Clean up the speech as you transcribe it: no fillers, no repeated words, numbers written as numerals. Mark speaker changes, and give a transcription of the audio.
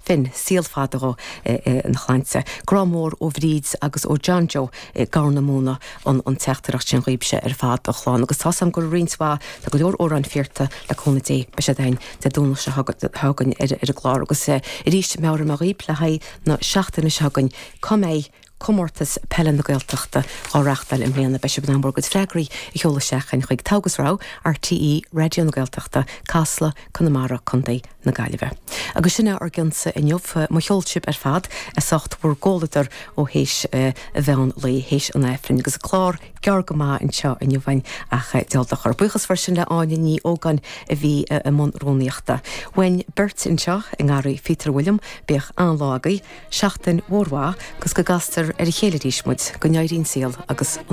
Speaker 1: Finn, saol fada dhó ina shláinte. Grá mór ó Bhríd agus ó John Joe i gCorr na Móna an an teachtaireacht sin dhaoibhse ar fad a chlann agus tá's a'm go raibh roinnt mhaith, tá go leor amhráin fiarta le cúnamh Dé beidh siad againn Dé Domhnaigh seo chugainn ar an gclár agus arís meabhraíonn mé dhaoib le haghaidh na seachtaine seo chugainn cá mbeidh Comórtas Peile na Gaeltachta á reáchtáil i mbliana. Beidh sibh in ann bhur gcuid freagraí a sheoladh isteach chugainn chuig Togha agus Rogha, RTÉ Raidió na Gaeltachta, Casla, Conamara, Co. na Gaillimhe. Agus sin é ár gcionn-sa inniu. Mo cheol sibh ar fad as ucht bhur gcomhluadar ó théis an mheán lae, théis an Aifrinn, agus clár gearr go maith anseo inniu againn ach diabhal dochar. Buíochas freisin le Áine Ní Ógáin a bhí i mbun rúnaíochta. Uainn beirt anseo i nGarraí Phíotair William, bíodh an-lá agaibh. Seachtain mhór mhaith agus go gcastar ar a chéile arís muid, go n-éirí an saol agus an.